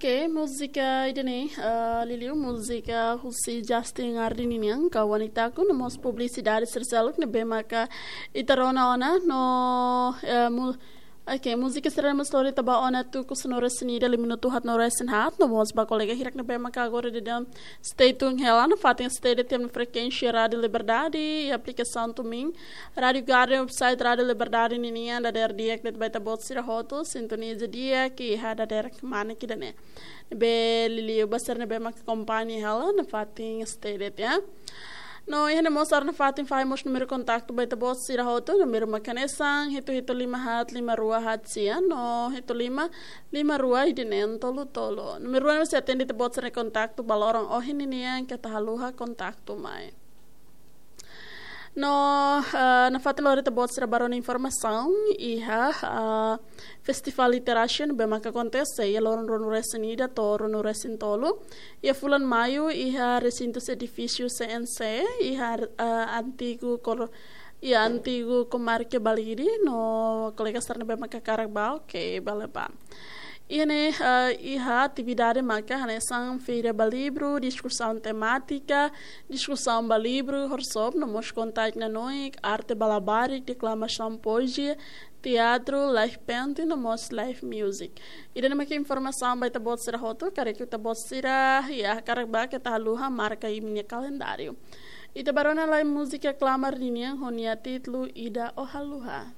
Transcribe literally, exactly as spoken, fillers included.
Oke, múzika ida-ne'e, ah, liuliu múzika husi Justin Hardin nian, ka Wanitaku, no mós publisidade sira seluk ne'ebé maka ita rona ona, no, eh, mu-, oke, múzika sira mós lori ita ba ona tuku sanulu-resin-ida, lima minutu haat-nulu-resin-haat, no mós ba kolega hirak ne'ebé maka agora daudaun stay tune hela nafatin stay de'it iha frekuénsia Rádio Liberdade, iha aplikasaun TuneIn, Rádio Garden, website Rádio Liberdade ninian, dadeer di'ak de'it ba ita-boot sira hotu, sintoniza di'ak iha dadeer kmanek ida-ne'e. Ne'ebé liuliu ba sira ne'ebé maka akompaña hela nafatin stay de'it, ya. No, iha ne'e mós ha'u hakarak fahe mós númeru kontaktu ba ita-boot sira hotu, númeru maka hanesan hitu hitu lima haat lima rua haat sia, no hitu lima lima rua ida-ne'e tolu tolu. Númeru ne'e sei atende ita-boot sira kontaktu ba loron ohin ninian, keta haluha kontaktu mai. No, eh, nafatin lori ita-boot sira ba rona informasaun iha, eh, Festivál Literasi ne'ebé maka akontese iha loron ruanulu-resin-ida to'o ruanulu-resin-tolu iha fulan Maiu iha resintu edifísiu C N C, iha, eh, antigu kor-, iha antigu Komarke Balide, no kolega sira ne'ebé maka hakarak ba, oke, bele ba. Iha ne'e, eh, iha atividade maka hanesan feira ba livru, diskusaun temátika, diskusaun ba livru, workshop, no mós konta-nanoik, arte ba labarik, deklamasaun poezia, teatru, live painting, no mós live music. Ida-ne'e maka informasaun ba ita-boot sira hotu, karik ita-boot sira, ya, hakarak ba keta haluha marka iha imi-nia kalendáriu. Ita ba rona lai múzika Klamar ninian ho nia títulu Ida Oh Haluha.